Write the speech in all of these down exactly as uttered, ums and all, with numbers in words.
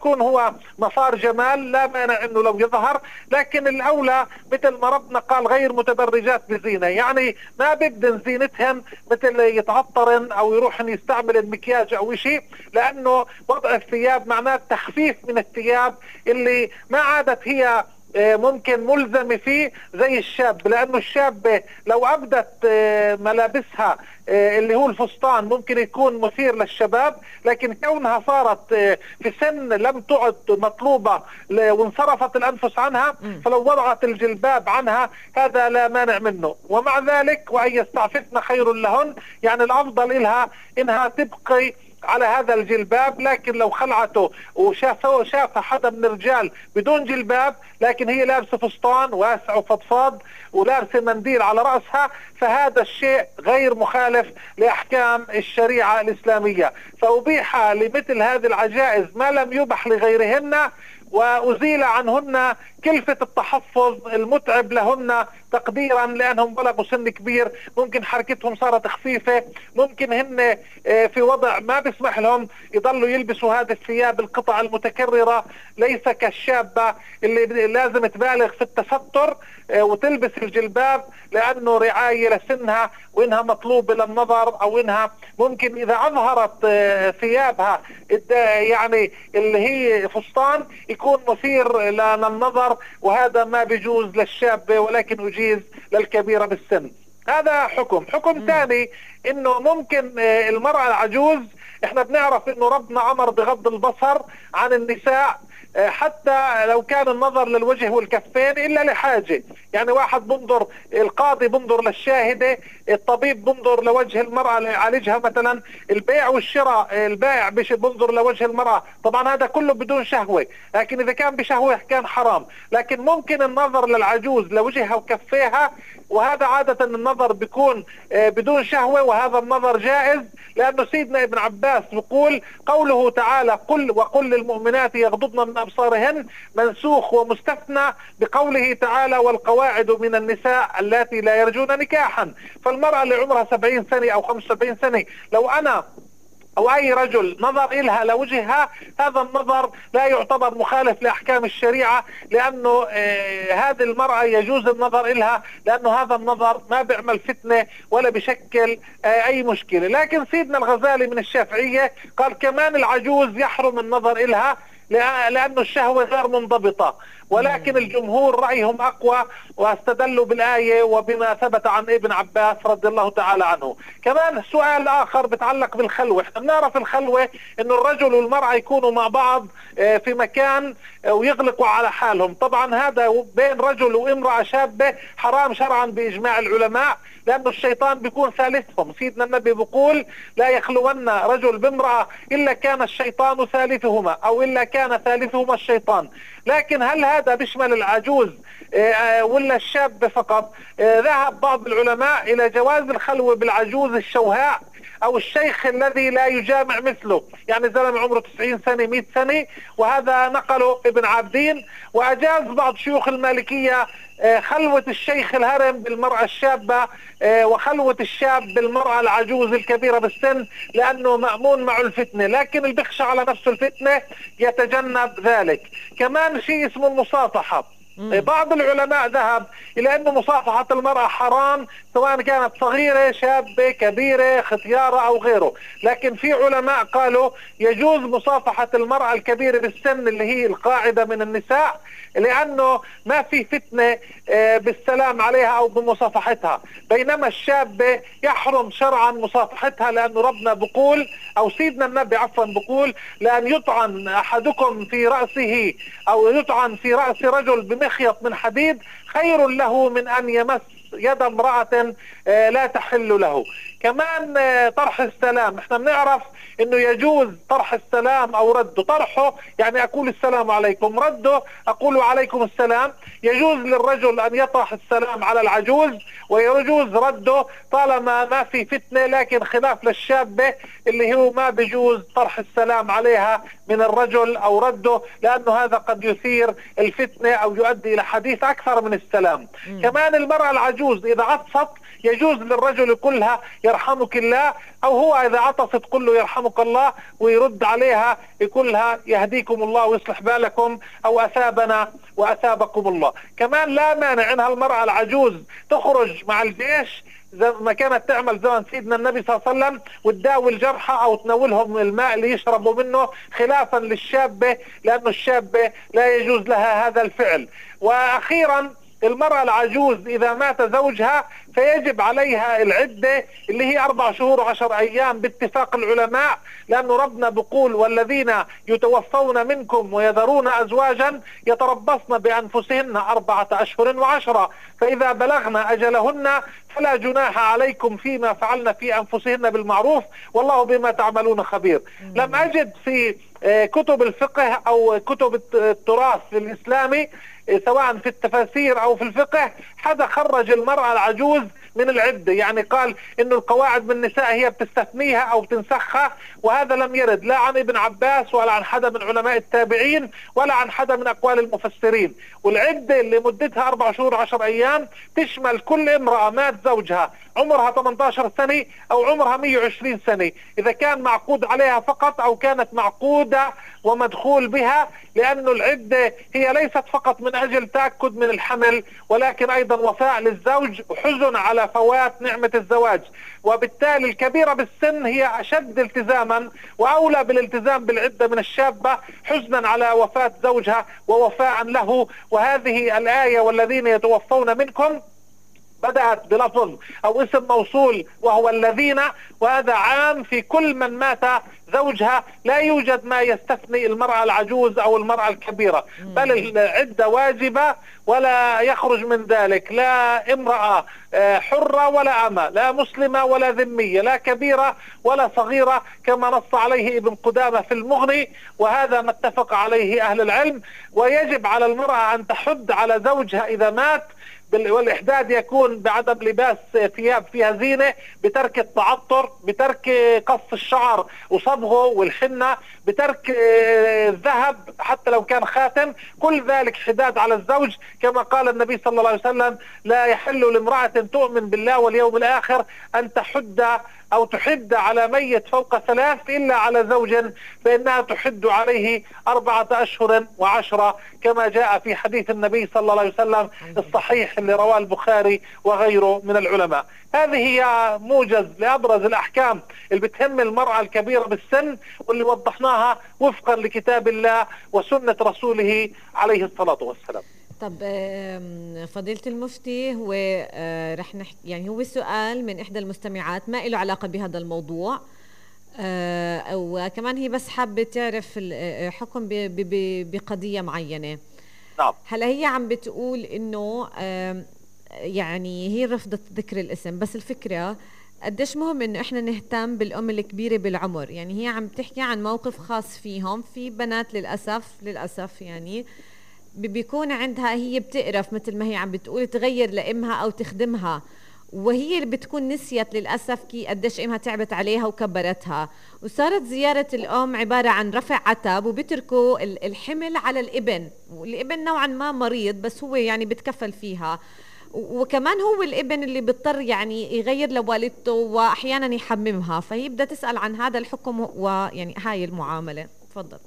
يكون هو مسار جمال لا مانع انه لو يظهر، لكن الاولى مثل ما ربنا قال غير متبرجات بزينه، يعني ما بدن زينتهن مثل يتعطرن او يروحن يستعمل المكياج او شيء، لانه وضع الثياب معناه تخفيف من الثياب اللي ما عادت هي ممكن ملزمة فيه زي الشاب، لأنه الشاب لو أبدت ملابسها اللي هو الفستان ممكن يكون مثير للشباب، لكن كونها صارت في سن لم تعد مطلوبة وانصرفت الأنفس عنها، فلو وضعت الجلباب عنها هذا لا مانع منه. ومع ذلك وأن يستعففن خير لهن، يعني الأفضل إلها إنها تبقي على هذا الجلباب، لكن لو خلعته وشافه شاف حدا من الرجال بدون جلباب لكن هي لابسه فستان واسع وفضفاض ولابسه منديل على راسها، فهذا الشيء غير مخالف لاحكام الشريعه الاسلاميه، فابيح لمثل هذه العجائز ما لم يبح لغيرهن، وأزيل عنهن كلفة التحفظ المتعب لهن تقديرا لأنهم بلغوا سن كبير، ممكن حركتهم صارت خفيفة، ممكن هن في وضع ما بيسمح لهم يضلوا يلبسوا هذه الثياب القطع المتكررة، ليس كالشابة اللي لازم تبالغ في التستر وتلبس الجلباب لأنه رعاية لسنها وإنها مطلوبة للنظر، أو إنها ممكن إذا أظهرت ثيابها يعني اللي هي فستان يكون مثير للنظر، وهذا ما بيجوز للشاب ولكن يجيز للكبيرة بالسن. هذا حكم. حكم ثاني إنه ممكن المرأة العجوز، إحنا بنعرف إنه ربنا أمر بغض البصر عن النساء حتى لو كان النظر للوجه والكفين إلا لحاجة، يعني واحد بنظر، القاضي بنظر للشاهدة، الطبيب بنظر لوجه المرأة ليعالجها مثلا، البيع والشراء البائع بنظر لوجه المرأة، طبعا هذا كله بدون شهوة، لكن إذا كان بشهوة كان حرام، لكن ممكن النظر للعجوز لوجهها وكفيها، وهذا عادة النظر بيكون بدون شهوة، وهذا النظر جائز، لأنه سيدنا ابن عباس بيقول قوله تعالى قل وقل للمؤمنات يغضضن من أبصارهن منسوخ ومستثنى بقوله تعالى والقواعد من النساء اللاتي لا يرجون نكاحا. فالمرأة اللي عمرها سبعين سنة أو خمسة وسبعين سنة لو أنا أو أي رجل نظر إلها لوجهها، هذا النظر لا يعتبر مخالف لأحكام الشريعة، لأنه آه هذه المرأة يجوز النظر إلها، لأنه هذا النظر ما بيعمل فتنة ولا بشكل آه أي مشكلة. لكن سيدنا الغزالي من الشافعية قال كمان العجوز يحرم النظر إلها لأنه الشهوة غير منضبطة، ولكن الجمهور رأيهم أقوى واستدلوا بالآية وبما ثبت عن ابن عباس رضي الله تعالى عنه. كمان سؤال آخر بتعلق بالخلوة، احنا بنعرف الخلوة انه الرجل والمرأة يكونوا مع بعض في مكان ويغلقوا على حالهم، طبعا هذا بين رجل وامرأة شابة حرام شرعا بإجماع العلماء، لأنه الشيطان بيكون ثالثهم، سيدنا النبي بيقول لا يخلون رجل بامرأة إلا كان الشيطان ثالثهما أو إلا كان ثالثهما الشيطان. لكن هل هذا بيشمل العجوز ولا الشاب فقط؟ ذهب بعض العلماء إلى جواز الخلوة بالعجوز الشوهاء أو الشيخ الذي لا يجامع مثله، يعني زلمة عمره تسعين سنة مئة سنة، وهذا نقله ابن عابدين. وأجاز بعض شيوخ المالكية خلوة الشيخ الهرم بالمرأة الشابة وخلوة الشاب بالمرأة العجوز الكبيرة بالسن، لأنه مأمون مع الفتنة، لكن اللي بيخشى على نفسه الفتنة يتجنب ذلك. كمان شيء اسمه المصافحة، بعض العلماء ذهب إلى أن مصافحة المرأة حرام سواء كانت صغيرة شابة كبيرة ختيارة أو غيره، لكن في علماء قالوا يجوز مصافحة المرأة الكبيرة بالسن اللي هي القاعدة من النساء، لأنه ما في فتنة بالسلام عليها أو بمصافحتها، بينما الشابة يحرم شرعا مصافحتها، لأنه ربنا بقول أو سيدنا النبي عفوا بقول لأن يطعن أحدكم في رأسه أو يطعن في رأس رجل بمخيط من حديد خير له من أن يمس يد امرأة لا تحل له. كمان طرح السلام، احنا بنعرف انه يجوز طرح السلام او رده، طرحه يعني اقول السلام عليكم، رده اقول عليكم السلام. يجوز للرجل ان يطرح السلام على العجوز ويجوز رده طالما ما في فتنة، لكن خلاف للشابة اللي هو ما بيجوز طرح السلام عليها من الرجل او رده، لانه هذا قد يثير الفتنة او يؤدي الى حديث اكثر من السلام. م. كمان المرأة العجوز اذا عطست يجوز للرجل كلها يرحمك الله، أو هو إذا عطست قل له يرحمك الله، ويرد عليها يقول لها يهديكم الله ويصلح بالكم، أو أثابنا وأثابكم الله. كمان لا مانع أنها المرأة العجوز تخرج مع الجيش زي ما كانت تعمل زمن سيدنا النبي صلى الله عليه وسلم، وتداوي الجرحى أو تناولهم الماء اللي يشربوا منه، خلافا للشابة، لأن الشابة لا يجوز لها هذا الفعل. وأخيرا المرأة العجوز إذا مات زوجها فيجب عليها العدة اللي هي أربع شهور وعشر أيام باتفاق العلماء، لأنه ربنا بيقول والذين يتوفون منكم ويذرون أزواجا يتربصن بأنفسهن أربعة أشهر وعشرة، فإذا بلغن أجلهن فلا جناح عليكم فيما فعلن في أنفسهن بالمعروف والله بما تعملون خبير. لم أجد في كتب الفقه أو كتب التراث الإسلامي سواء في التفاسير أو في الفقه حدا خرج المرأة العجوز من العدة، يعني قال إنه القواعد بالنساء هي بتستثنيها أو بتنسخها، وهذا لم يرد لا عن ابن عباس ولا عن حدا من علماء التابعين ولا عن حدا من أقوال المفسرين. والعدة اللي مدتها أربع شهور عشر أيام تشمل كل امرأة مات زوجها عمرها ثمانية عشر سنة أو عمرها مئة وعشرين سنة، إذا كان معقود عليها فقط أو كانت معقودة ومدخول بها، لأنه العدة هي ليست فقط من أجل تأكد من الحمل ولكن أيضا وفاء للزوج وحزن على فوات نعمة الزواج. وبالتالي الكبيرة بالسن هي أشد التزاما وأولى بالالتزام بالعدة من الشابة، حزنا على وفاة زوجها ووفاء له. وهذه الآية والذين يتوفون منكم بدأت بلفظ أو اسم موصول وهو الذين، وهذا عام في كل من مات زوجها، لا يوجد ما يستثني المرأة العجوز أو المرأة الكبيرة، بل العدة واجبة ولا يخرج من ذلك لا امرأة حرة ولا أمة، لا مسلمة ولا ذمية، لا كبيرة ولا صغيرة، كما نص عليه ابن قدامة في المغني، وهذا ما اتفق عليه أهل العلم. ويجب على المرأة أن تحد على زوجها إذا مات، والإحداد يكون بعدم لباس ثياب فيها زينة، بترك التعطر، بترك قص الشعر وصبغه والحنة، بترك الذهب حتى لو كان خاتم، كل ذلك حداد على الزوج. كما قال النبي صلى الله عليه وسلم لا يحل لامرأة تؤمن بالله واليوم الآخر أن تحد أو تحد على ميت فوق ثلاث إلا على زوج فإنها تحد عليه أربعة أشهر وعشرة، كما جاء في حديث النبي صلى الله عليه وسلم الصحيح اللي رواه البخاري وغيره من العلماء. هذه هي موجز لأبرز الأحكام اللي بتهم المرأة الكبيرة بالسن، واللي وضحناها وفقا لكتاب الله وسنة رسوله عليه الصلاة والسلام. طب فضيلة المفتي، هو رح نحكي يعني هو سؤال من إحدى المستمعات ما له علاقة بهذا الموضوع، أو كمان هي بس حابة تعرف الحكم بقضية معينة. نعم. هلا هي عم بتقول إنه يعني هي رفضت ذكر الاسم، بس الفكرة قديش مهم إنه إحنا نهتم بالأم الكبيرة بالعمر. يعني هي عم تحكي عن موقف خاص فيهم، في بنات للأسف للأسف يعني بيكون عندها هي بتقرف مثل ما هي عم بتقول تغير لأمها أو تخدمها، وهي اللي بتكون نسيت للأسف كي قديش أمها تعبت عليها وكبرتها، وصارت زيارة الأم عبارة عن رفع عتب وبتركوا الحمل على الابن، والابن نوعا ما مريض بس هو يعني بتكفل فيها، وكمان هو الابن اللي بيضطر يعني يغير لوالدته وأحيانا يحممها. فهي بدها تسأل عن هذا الحكم ويعني هاي المعاملة. تفضل.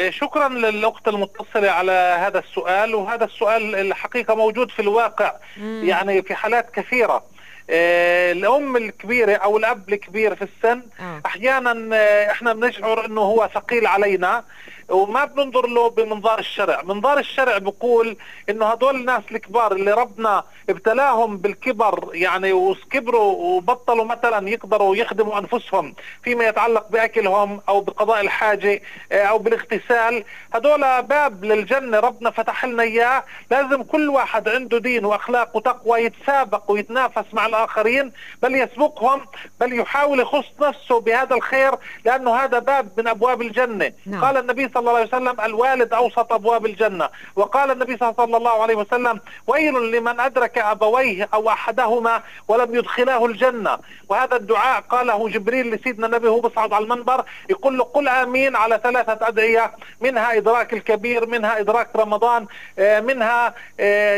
شكرا للأخت المتصلة على هذا السؤال، وهذا السؤال الحقيقة موجود في الواقع مم. يعني في حالات كثيرة. الأم الكبيرة أو الأب الكبير في السن آه. أحيانا إحنا بنشعر أنه هو ثقيل علينا وما بننظر له بمنظار الشرع. منظار الشرع بيقول انه هدول الناس الكبار اللي ربنا ابتلاهم بالكبر يعني وكبروا وبطلوا مثلا يقدروا يخدموا انفسهم فيما يتعلق باكلهم او بقضاء الحاجة او بالاغتسال، هدول باب للجنة ربنا فتح لنا اياه. لازم كل واحد عنده دين واخلاق وتقوى يتسابق ويتنافس مع الاخرين، بل يسبقهم، بل يحاول يخص نفسه بهذا الخير، لانه هذا باب من ابواب الجنة. نعم. قال النبي صلى صلى الله عليه وسلم الوالد أوسط أبواب الجنة، وقال النبي صلى الله عليه وسلم ويل لمن أدرك أبويه أو أحدهما ولم يدخلاه الجنة. وهذا الدعاء قاله جبريل لسيدنا النبي وهو بصعد على المنبر، يقول له قل آمين على ثلاثة أدعية، منها إدراك الكبير، منها إدراك رمضان، منها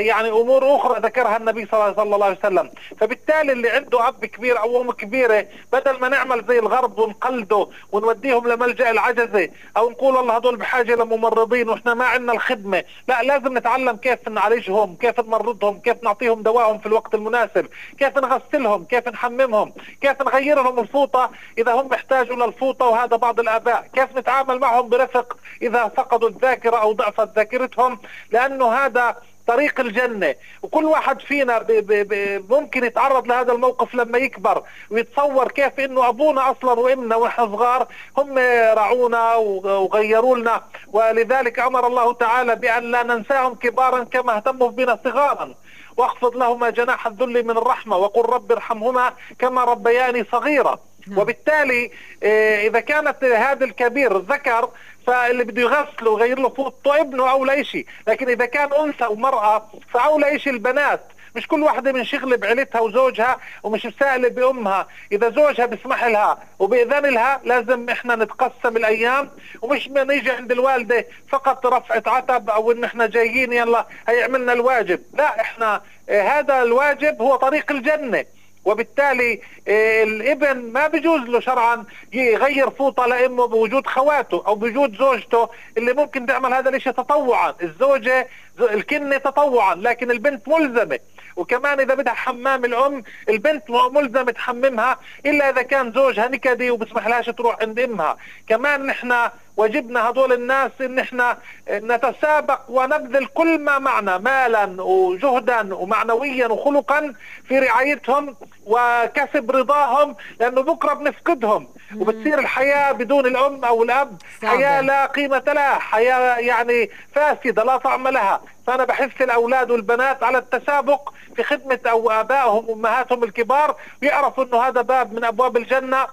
يعني أمور أخرى ذكرها النبي صلى الله عليه وسلم. فبالتالي اللي عنده أب كبير أو أم كبيرة، بدل ما نعمل زي الغرب ونقلده ونوديهم لملجأ العجزة أو نقول والله هدول بحاجة لممرضين وإحنا ما عندنا الخدمة، لا، لازم نتعلم كيف نعالجهم، كيف نمرضهم، كيف نعطيهم دواهم في الوقت المناسب، كيف نغسلهم، كيف نحممهم، كيف نغير لهم الفوطة إذا هم محتاجوا للفوطة، وهذا بعض الآباء، كيف نتعامل معهم برفق إذا فقدوا الذاكرة أو ضعفت ذاكرتهم، لأنه هذا طريق الجنة. وكل واحد فينا بي بي بي ممكن يتعرض لهذا الموقف لما يكبر ويتصور كيف انه ابونا اصلا وامنا واحنا صغار هم رعونا وغيروا لنا، ولذلك امر الله تعالى بان لا ننساهم كبارا كما اهتموا بنا صغارا، واخفض لهما جناح الذل من الرحمة وقل رب ارحمهما كما ربياني صغيرا. وبالتالي اذا كانت هذا الكبير ذكر فاللي بده يغسله ويغير له فوطه ابنه اولى شيء، لكن اذا كان انثى ومرأة فاولى شيء البنات. مش كل واحدة منشغلة بعيلتها وزوجها ومش مسائلة بأمها، إذا زوجها بيسمح لها وبإذن لها لازم إحنا نتقسم الأيام، ومش ما نيجي عند الوالدة فقط رفعة عتب أو إن إحنا جايين يلا هيعملنا الواجب، لا، إحنا هذا الواجب هو طريق الجنة. وبالتالي الابن ما بيجوز له شرعا يغير فوطة لأمه بوجود خواته أو بوجود زوجته اللي ممكن تعمل هذا الاشي تطوعا. الزوجة الكنة تطوعا، لكن البنت ملزمة. وكمان إذا بدها حمام الأم البنت ملزمة تحممها إلا إذا كان زوجها نكدي وبسمح لهاش تروح عند أمها. كمان نحن واجبنا هدول الناس إن احنا نتسابق ونبذل كل ما معنا مالا وجهدا ومعنويا وخلقا في رعايتهم وكسب رضاهم، لأنه بكرة بنفقدهم وبتصير الحياة بدون الأم أو الأب حياة لا قيمة لها، حياة يعني فاسدة لا طعم لها. فأنا بحث الأولاد والبنات على التسابق في خدمة أو آبائهم وأمهاتهم الكبار، ويعرفوا أنه هذا باب من أبواب الجنة،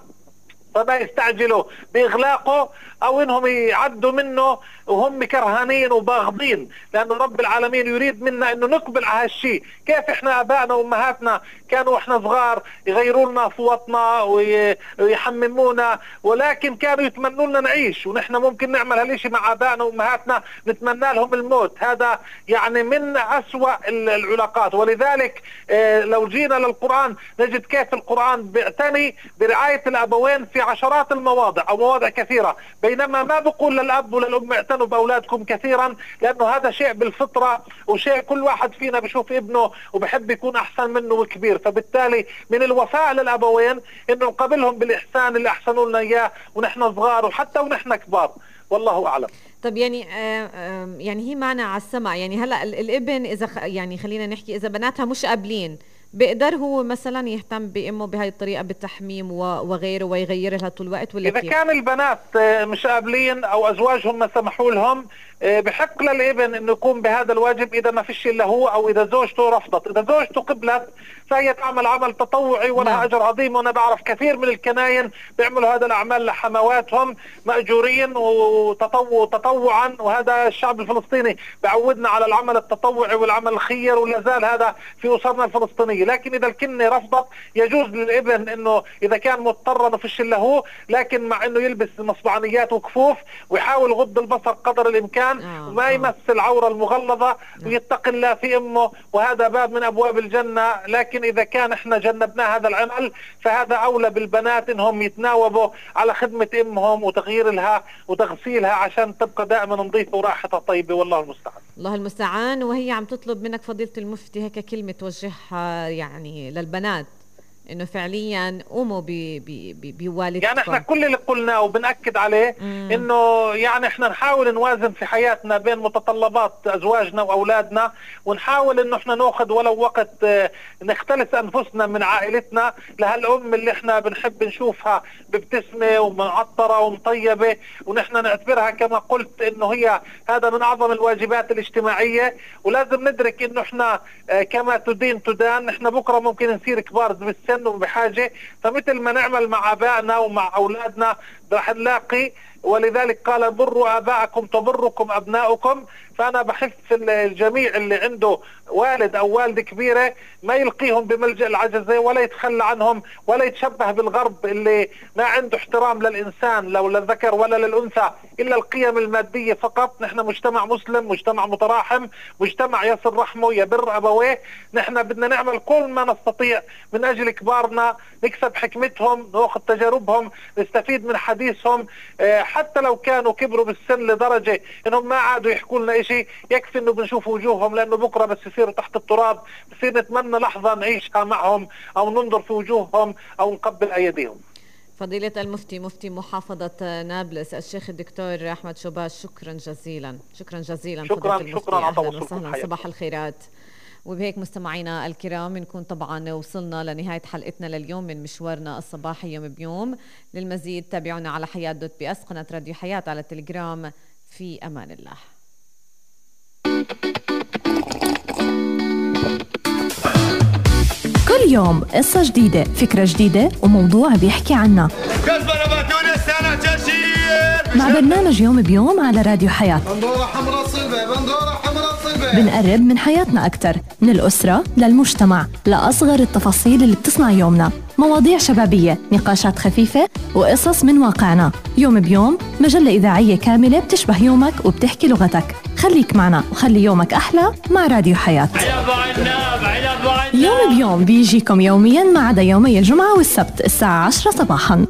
فما يستعجلوا بإغلاقه أو إنهم يعدوا منه وهم كرهانين وباغضين، لأن رب العالمين يريد منا إنه نقبل على هالشيء. كيف إحنا آبائنا وأمهاتنا كانوا إحنا صغار يغيروا لنا فوطنا ويحممونا، ولكن كانوا يتمنوا لنا نعيش، ونحن ممكن نعمل هالشيء مع آبائنا وأمهاتنا، نتمنى لهم الموت. هذا يعني من أسوأ العلاقات. ولذلك لو جينا للقرآن نجد كيف القرآن بيعتني برعاية الأبوين في عشرات المواضع أو مواضع كثيرة، بينما ما بقول للأب وللأم اعتنوا بأولادكم كثيرا، لأنه هذا شيء بالفطرة وشيء كل واحد فينا بشوف ابنه وبحب يكون أحسن منه وكبير. فبالتالي من الوفاء للأبوين إنه نقابلهم بالإحسان اللي أحسنوا لنا إياه ونحن صغار وحتى ونحن كبار، والله أعلم. طب يعني آه آه يعني هي معنا على السمع، يعني هلا الابن إذا يعني خلينا نحكي إذا بناتها مش قابلين بيقدر هو مثلا يهتم بأمه بهاي الطريقة بالتحميم وغيره ويغير لها طول الوقت، ولا إذا كيف؟ كان البنات مش قابلين أو أزواجهم ما سمحوا لهم بحق للابن إنه يقوم بهذا الواجب إذا ما فيش إلا هو، أو إذا زوجته رفضت. إذا زوجته قبلت فهي تعمل عمل تطوعي ولها نعم. أجر عظيم. وأنا بعرف كثير من الكناين بيعملوا هذا الأعمال لحمواتهم مأجورين وتطوع تطوعا، وهذا الشعب الفلسطيني بعودنا على العمل التطوعي والعمل الخير، ولا زال هذا في أسرنا الفلسطينية. لكن إذا الكنة رفضت يجوز للابن إنه إذا كان مضطر ما فيش إلا هو، لكن مع إنه يلبس مصبعنيات وكفوف ويحاول غض البصر قدر الإمكان آه وما يمس العورة المغلظة آه. ويتقي الله في أمه، وهذا باب من أبواب الجنة. لكن إذا كان إحنا جنبنا هذا العمل فهذا أولى بالبنات إنهم يتناوبوا على خدمة أمهم وتغيير لها وتغسيلها عشان تبقى دائما نظيفة وراحتها طيبة، والله المستعان. الله المستعان. وهي عم تطلب منك فضيلة المفتي هيك كلمة توجهها يعني للبنات انه فعليا قوموا بوالدتكم. يعني احنا كل اللي قلناه وبنأكد عليه مم. انه يعني احنا نحاول نوازن في حياتنا بين متطلبات ازواجنا واولادنا، ونحاول انه احنا ناخذ ولو وقت نختلس انفسنا من عائلتنا لهالام اللي احنا بنحب نشوفها بابتسمه ومعطره ومطيبه، ونحن نعتبرها كما قلت انه هي هذا من اعظم الواجبات الاجتماعيه. ولازم ندرك انه احنا كما تدين تدان، احنا بكره ممكن نصير كبار بالسن وبحاجه، فمثل ما نعمل مع ابائنا ومع اولادنا رح نلاقي ولذلك قال بروا آباءكم تبركم أبناؤكم. فأنا بحث الجميع اللي عنده والد أو والدة كبيرة ما يلقيهم بملجأ العجزة ولا يتخلى عنهم ولا يتشبه بالغرب اللي ما عنده احترام للإنسان لو للذكر ولا للأنثى إلا القيم المادية فقط. نحن مجتمع مسلم، مجتمع متراحم، مجتمع يصل رحمه يبر أبويه. نحن بدنا نعمل كل ما نستطيع من أجل كبارنا، نكسب حكمتهم، نأخذ تجاربهم، نستفيد من حديثهم، حتى لو كانوا كبروا بالسن لدرجة إنهم ما عادوا يحكوا لنا إشي، يكفي إنه بنشوف وجوههم، لأنه بكرة بس يصيروا تحت التراب بصير نتمنى لحظة نعيشها معهم أو ننظر في وجوههم أو نقبل أيديهم. فضيلة المفتي مفتي محافظة نابلس الشيخ الدكتور أحمد شوباش، شكرا جزيلا. شكرا جزيلا. شكرا شكرا على وسهلا. صباح الخيرات. وبهيك مستمعينا الكرام بنكون طبعا وصلنا لنهاية حلقتنا لليوم من مشوارنا الصباحي يوم بيوم. للمزيد تابعونا على حياة دوت بي اس قناة راديو حياة على التليجرام. في أمان الله. كل يوم قصة جديدة، فكرة جديدة، وموضوع بيحكي عنها مع برنامج يوم بيوم على راديو حياة. بندورة حمراء صلبة، بندورة حمراء صلبة. بنقرب من حياتنا أكتر، من الأسرة للمجتمع، لأصغر التفاصيل اللي بتصنع يومنا. مواضيع شبابية، نقاشات خفيفة، وقصص من واقعنا. يوم بيوم مجلة إذاعية كاملة بتشبه يومك وبتحكي لغتك. خليك معنا وخلي يومك أحلى مع راديو حياة. يوم بيوم بيجيكم يوميا ما عدا يومي الجمعة والسبت الساعة عشرة صباحا.